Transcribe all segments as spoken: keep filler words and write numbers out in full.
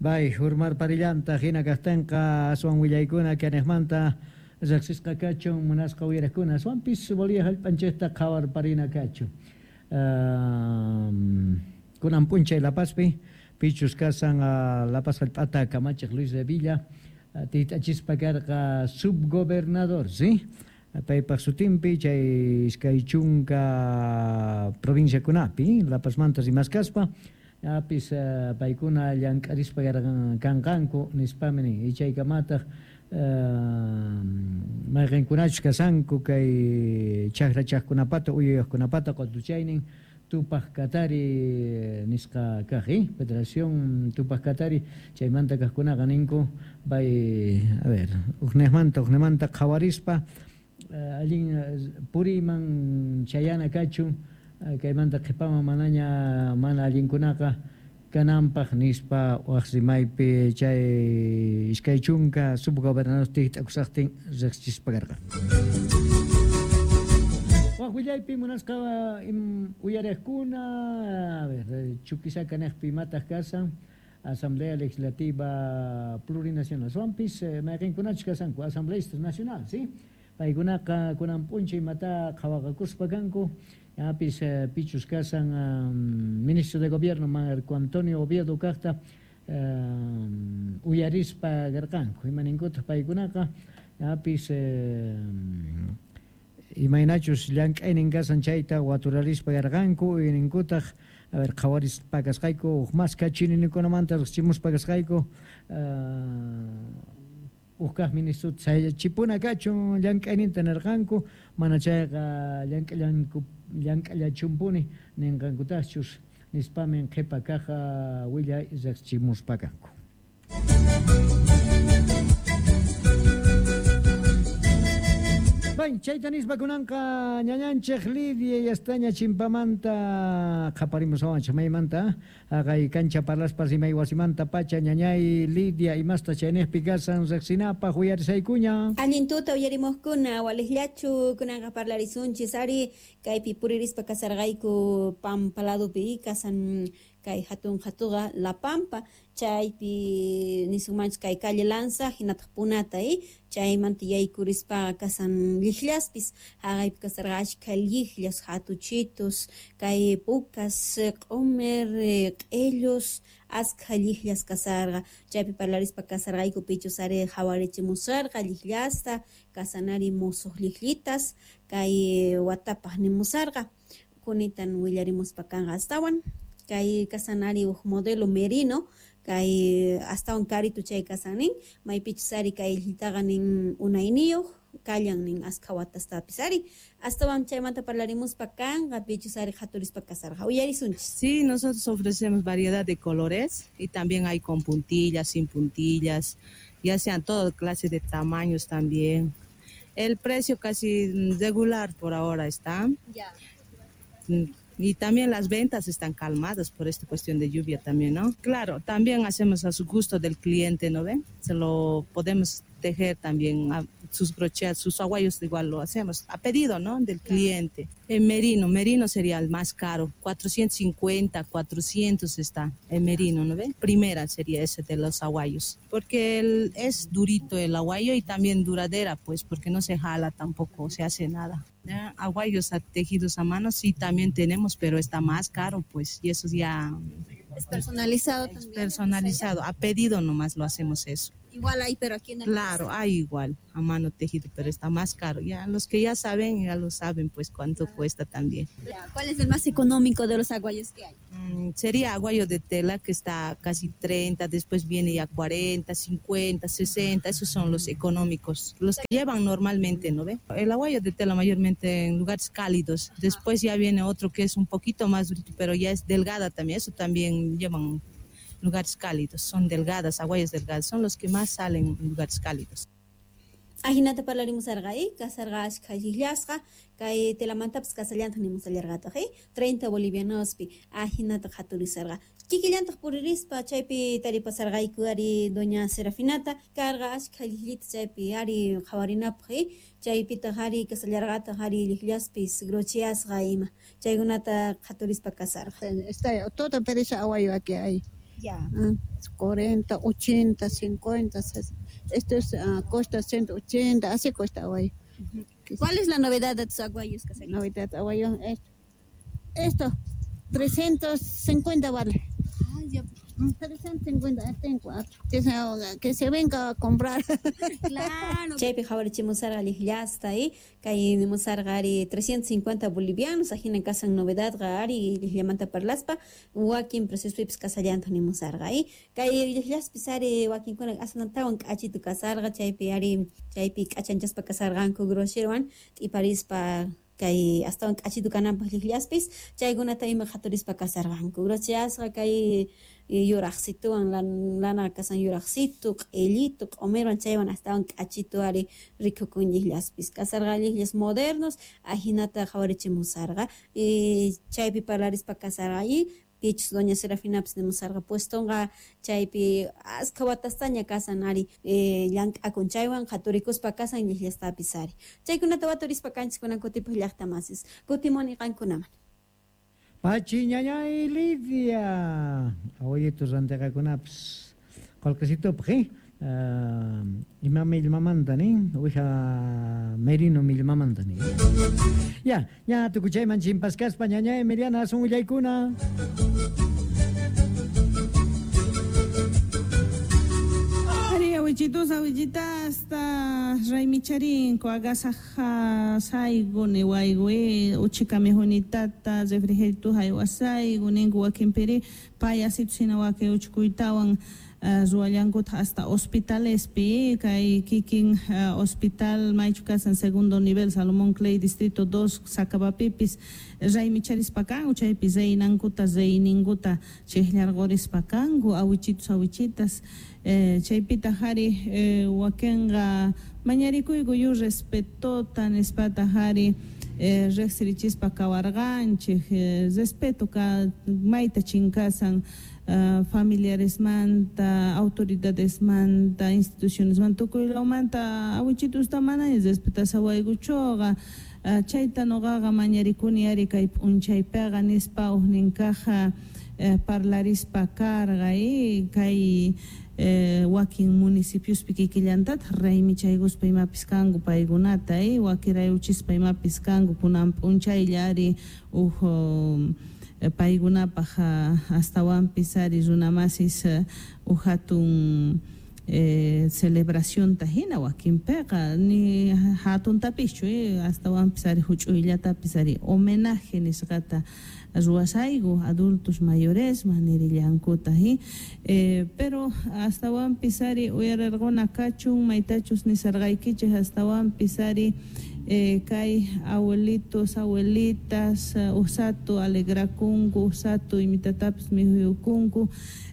Bay, hurmarparillanta hina kaqtinqa aswan willaykuna kaniqmanta riqsisqa kachun munasqa uyariqkuna aswanpis Bolivia hallp'anchikta qhawarparina kachun. Um, kunan p'unchay La Pazpi pichus kasan uh, La Paz hallp'ata kamachiq Luis de Villa uh, tiyt'achispa karqa subgobernador, ¿sí? Paypaq sutinpi chay iskay chunka provinciakunapi La Pazmanta rimaskaspa apis uh, paykuna llank'arispa kanqanku nispami nin ichaykamataq uh, mayqinkunachus kasanku kay chakrachaqkunapata uyuyaqkunapata qutuchaynin Tupaq Katari nisqa kaq, eh? Federación Tupaq Katari chaymanta kaqkunaqa ninku bay a ver uqniqmanta uqnimanta qhawarispa uh, allin puriyman chayana kachun uh, kaymanta qhipaman manaña mana allinkunaqa kananpaq nispa waq rimaypi chay iskay chunka subgobernador tikt'akusaqtin riqsichispa karqa. Waq willaypi munasqa uyariqkuna, a ver, Chuquisaca niqpi imataq kasan Asamblea Legislativa Plurinacional. Aswanpis mayqinkunachus kasanku Asambleístas Nacional, ¿sí? Paykunaqa kunan p'unchay imata qhawaqakuspa kanku, apis pichus kasan um, ministro de Gobierno Marco Antonio Oviedo kaqta um, uyarispa karqanku. Imaninkutaq paykunaqa apis eh, imaynachus llank'aynin kasan chayta waturarispa karqanku, uyninkutaq a ver qhawarispa kasqayku huk mas kachinikunamanta riqsimuspa kasqayku uh, huk kaq ministro chayachipuna kachun llank'ayninta nirqanku, mana chayqa llank'allanku llank'allachumpuni ninqankutaqchus nispamin qhipa kaq willay riqsimuspa kanku. Bay, chayta nispa kunanqa ñañanchik Lidia yastaña chimpamanta qhaparimus awanchik maymanta haqay kancha parlaspa rimay wasimanta pacha ñañay Lidia imasta chayniqpi kasan riqsinapaq uyarisaykuña. Allin tuta uyarimuqkuna waliqllachu kunanqa parlarisunchis ari kaypi puririspa kasarqayku Pampa ladopi kasan kay hatun hatuqa La Pampa chaypi nisunmanchis kay calle Lanza hinataq Punata eh chaymanta yaykurispa kasan lliqllaspis haqaypi kasarqa achka lliqllas hatuchitos kay pukas q'umir q'illus askha lliqllas kasarqa chaypi parlarispa kasarqayku pichus ari qhawarichimusarqa lliqllasta kasanari musuq lliqllitas kay watapaq nimusarqa kunitan willarimuspa kanqa astawan kay kasanari huk modelo merino kay astawan karitu chay kasanin maypichus ari kay llitaqa nin unayniyuq kallan nin askha watastapis ari astawan chaymanta parlarimuspa kanqa pichus ari qhaturispa kasarqa uyarisunchis. Sí, nosotros ofrecemos variedad de colores y también hay con puntillas, sin puntillas, ya sean toda clase de tamaños también. El precio casi regular por ahora está. Ya. Y también las ventas están calmadas por esta cuestión de lluvia también, ¿no? Claro, también hacemos a su gusto del cliente, ¿no ven? Se lo podemos tejer también a sus brochets, sus aguayos igual lo hacemos a pedido, ¿no? Del cliente. El merino, merino sería el más caro, cuatrocientos cincuenta, cuatrocientos está el merino, ¿no ven? Primera sería ese de los aguayos, porque el, es durito el aguayo y también duradera, pues, porque no se jala tampoco, se hace nada. Ya, aguayos tejidos a mano sí también tenemos, pero está más caro, pues, y eso ya... Es personalizado es también. Personalizado, a pedido nomás lo hacemos eso. Igual hay, pero aquí en el Claro, hay igual, a mano tejido, pero está más caro. Ya los que ya saben, ya lo saben, pues cuánto cuesta también. Ya, ¿cuál es el más económico de los aguayos que hay? Mm, sería aguayo de tela, que está casi treinta, después viene ya cuarenta, cincuenta, sesenta, esos son los económicos, los que llevan normalmente, ¿no ve? El aguayo de tela mayormente en lugares cálidos, después ya viene otro que es un poquito más durito, pero ya es delgada también, eso también llevan lugares cálidos, son delgadas, aguayas delgadas, son los que más salen en lugares cálidos. Ajinata parlarimusarqa, eh? Kasarqa achka lliqllasqa, kay telamantapas kasallantaq nimusallarqataq, eh? treinta bolivianospi, ajinata qhaturisarqa. Kikillantaq puririspa chaypi taripasarqayku ari doña Serafinata, karqa achka lliqllita chaypi ari qhawarinapaq, eh? Chaypitaq ari kasallarqataq ari lliqllaspis grocheasqa ima, chaykunata qhaturispa kasarqa. Está todo pereza aguayo aquí hay. Ya. cuarenta, ochenta, cincuenta, esto es, uh, cuesta ciento ochenta, así cuesta aguayo. ¿Cuál es la novedad de tus aguayos, Caserita? Novedad de aguayo, esto, esto, trescientos cincuenta vale. Ay, ya. trescientos cincuenta, tengo cuatro. Que se, que se venga a comprar. Claro. Chaypi qhawarichimusarqa lliqllasta, eh? Kay nimusarqa ari trescientos cincuenta bolivianos, ajina kasan novedadqa ari lliqllamanta parlaspa, wakin preciospipis kasallanta nimusarqa, eh? Kay lliqllaspis ari wakinkuna asanantawan k'achitu kasarqa, chaypi ari chaypi k'achanchaspa kasarqanku grosierwan t'iparispa kay astawan k'achitu kananpaq lliqllaspis, chaykunata ima qhaturispa kasarqanku. Grosierasqa kay yuraqsituwan lana kasan yuraqsitu, q'illitu, q'umirwan chaywan astawan k'achitu ari rikukun lliqllaspis. Kasarqa lliqllas modernos, ajinata qhawarichimusarqa. Y chaypi parlarispa kasarqa y pichus doña Serafinapis nimusarqa puestonqa chaypi askha watastaña kasan ari eh, llank'akun chaywan qhaturikuspa kasan lliqllastapis ari. Chaykunata waturispa kanchis kunan kutipaq llaqtamasis. Kutimuni qankunaman. Pachi ñañay Lidia, abuelitos rantiqakunapis qullqisitupaq, eh? Uh, ima millmamanta nin, uwija merino millmamanta nin. Ya, ya tukuchayman chimpaskaspa ñañay Emiliana asun willaykuna. Ari awichitus awichitasta raymicharinko agasaja saygu niwaygu uchikami junitata refrigerito haywasaygu ninku wakinpiri payasitu sina waki uchkuytawan ruwallankuta hasta hospitalespi kay kikin uh, hospital maychu kasan segundo nivel Salomón Clay distrito dos Sacabapipis raymicharispa kanku chaypi reynankuta reyninkuta chiqllarqurispa kanku awichitus awichitas eh, chaypita jari eh, wakinqa mañarikuyku yu respetota nispata jari eh, riqsirichispa kawarqanchik eh, respeto ka mayta chinkasan Uh, familiaresmanta, autoridadesmanta, institucionesmanta, tukuylawmanta awichitusta manaña respetasawaykuchuqa uh, chayta nuqaqa mañarikuni ari kay p'unchaypiqa nispa uqninkaqa uh, parlarispa karqa y kay eh, wakin municipiospi kikillantataq raymichaykuspa imapis kanku paykunata y wakirayuchispa imapis kanku kunan p'unchaylla ari uj um, paykunapaq astawanpis ari runamasis uj hatun eh, celebracionta hina wakinpiqa ni hatuntapischu eh, astawanpis ari huch'uyllatapis ari homenaje nisqata ruwasayku adultos mayoresman nirillankuta eh, pero astawanpis ari uyarirquna kachun maytachus nisarqaykichik astawanpis ari Eh, kay abuelitos, abuelitas, uh, usato alegrakunku, usato imitatapis mihuyukunku,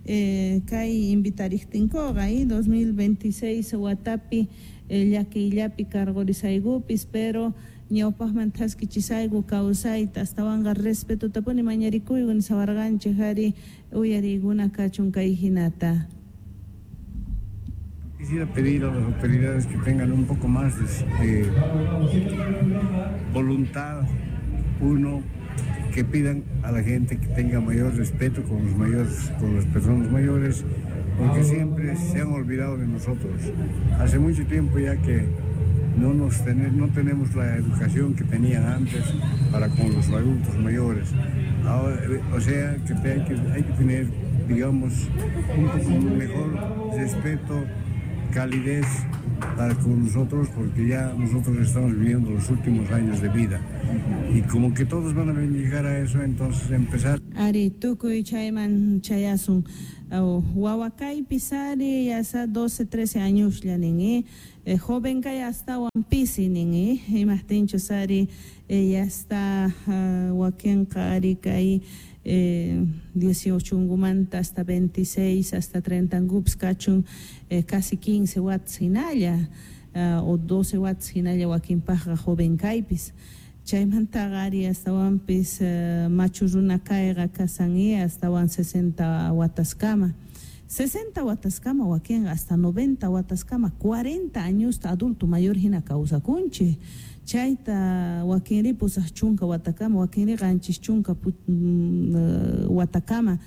eh, kay invitariktinkuqa, eh, dos mil veintiséis watapi eh, llakiyllapi karqurisaykupis, pero ñawpaqman thaskichisayku kawsayta astawanqa respetotapuni mañarikuyku nisawarqanchik ari uyariykuna kachun kay hinata. Quisiera pedir a las autoridades que tengan un poco más de, de voluntad, uno, que pidan a la gente que tenga mayor respeto con los mayores, con las personas mayores, porque siempre se han olvidado de nosotros. Hace mucho tiempo ya que no, nos ten, no tenemos la educación que tenían antes para con los adultos mayores. Ahora, o sea, que hay que, hay que tener, digamos, un poco mejor respeto, calidez para con nosotros, porque ya nosotros estamos viviendo los últimos años de vida y como que todos van a llegar a eso, entonces empezar. Ari tukuy chayman chayasun wawakaypis ari yasa doce, trece años ya nin eh, joven kay astawan pisi nin eh, imaqtinchus ari eh, ya está uh, wakinqa ari kay Eh, dieciocho ungumanta hasta veintiséis, hasta treinta angups kachun eh, casi quince watts hinalla uh, o doce watts hinalla wakinpaqqa joven kaypis chaymantaqa ari astawanpis uh, machu runa kayqa kasan i astawan sesenta wataskama sesenta wataskama wakinqa hasta noventa wataskama cuarenta añosta adulto mayor hina kawsakunchik chayta wakinri pusaq chunka watakama wakinri qanchis chunka watakama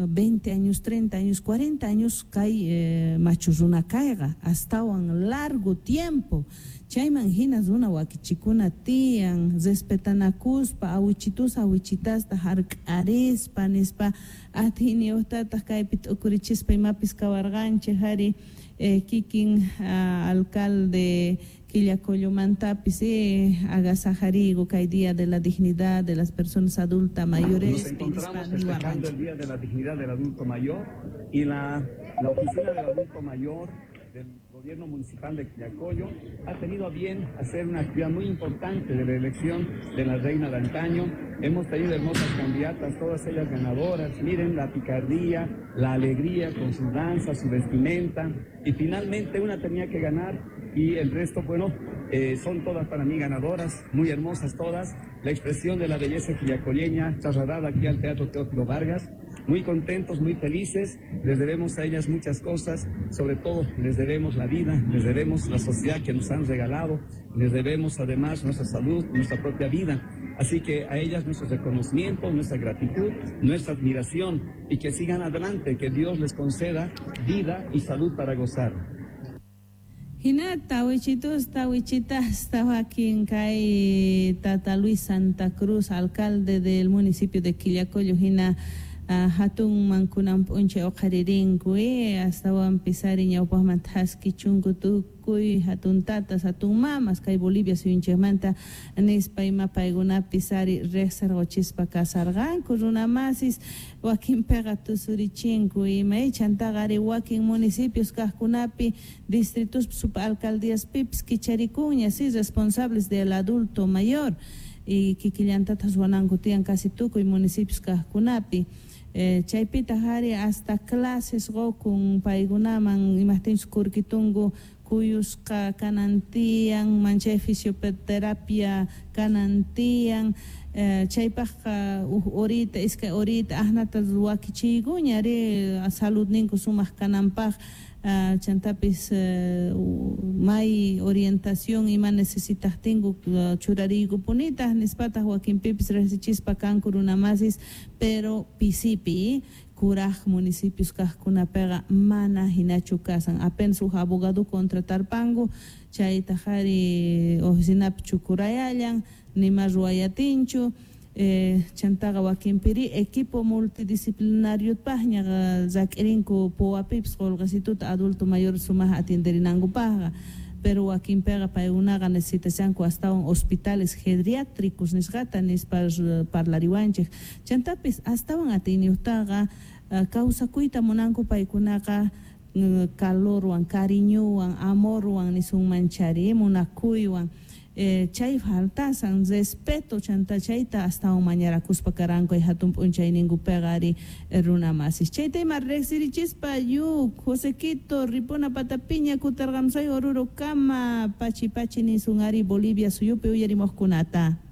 veinte años, treinta años, cuarenta años kay eh, machu runa kayqa astawan largo tiempo. Chayman hina runa wakichikuna tiyan respetanakuspa awichitus awichitasta hark'arispa nispa atiyniyuqtataq kaypi t'ukurichispa imapis kawarqanchik ari eh, kikin uh, alcalde Quillacollomantapis eh, agasajarigo kay Día de la Dignidad de las Personas Adultas Mayores. Nos encontramos festejando el Día de la Dignidad del Adulto Mayor y la, la Oficina del Adulto Mayor del Gobierno Municipal de Quillacollo ha tenido a bien hacer una actividad muy importante de la elección de la Reina de antaño. Hemos tenido hermosas candidatas, todas ellas ganadoras. Miren la picardía, la alegría con su danza, su vestimenta. Y finalmente una tenía que ganar y el resto, bueno, eh, son todas para mí ganadoras, muy hermosas todas. La expresión de la belleza quillacolleña trasladada aquí al Teatro Teófilo Vargas. Muy contentos, muy felices, les debemos a ellas muchas cosas, sobre todo les debemos la vida, les debemos la sociedad que nos han regalado, les debemos además nuestra salud, nuestra propia vida. Así que a ellas nuestro reconocimiento, nuestra gratitud, nuestra admiración y que sigan adelante, que Dios les conceda vida y salud para gozar. Hinata wichitus tawichitas tawakin kay Tata Luis Santa Cruz, alcalde del municipio de Quillacollo, hina Uh, hatun mankunan p'unchay uqharirinku eh, astawanpis ari ñawpaqman thaskichunku tukuy hatun tatas hatun mamas kay Bolivia suyunchikmanta nispa ima paykunapis ari riqsirquchispa kasarqanku runamasis wakinpiqa tusurichinku ima chantaqa ari wakin municipios kaqkunapi distritos subalcaldíaspipis kicharikunña si responsables del adulto mayor y kikillantatas ruwananku tiyan casi tukuy municipios kaqkunapi. Eh, chaypita hari hasta clases qukun paykunaman imaqtinchus kurkitunku kuyusqa kanan tiyan manchay fisioterapia kanan tiyan eh, chaypaqqa huk horita iskay horita asnata wakichiykuña ari saludninku sumaq kananpaq uh, chantapis uh, may orientación ima necesitaqtinku uh, churariykupunitaq nispataq wakinpipis riqsichispa kanku runamasis pero pisipi kuraj municipios kaqkunapiqa mana hinachu kasan apenas huk abogado contratarpanku chaytaq ari oficinapi chukurayallan nima ruwayatinchu. Eh, chantaqa wakinpiri equipo multidisciplinario paqña rak'irinku puwapipis qullqisituta adulto mayor sumaq atienderinankupaqqa pero wakinpiqa paykunaqa necesitashanku astawan hospitales geriátricos nisqata nispa parlariwanchik chantapis astawan atiyniyuqtaqa kawsakuyta munanku paykunaqa calorwan cariñowan amorwan nisunmanchari munakuywan. Eh, chay faltasan respeto chanta chayta astawan mañarakuspa karanku ay hatun p'unchayninkupiqa ari runamasis chayta ima riqsirichispa yu Josequito Ripuna Patapiña kutarqamsay Oruro kama pachi pachi nisun ari Bolivia suyupi uyarimuqkunata.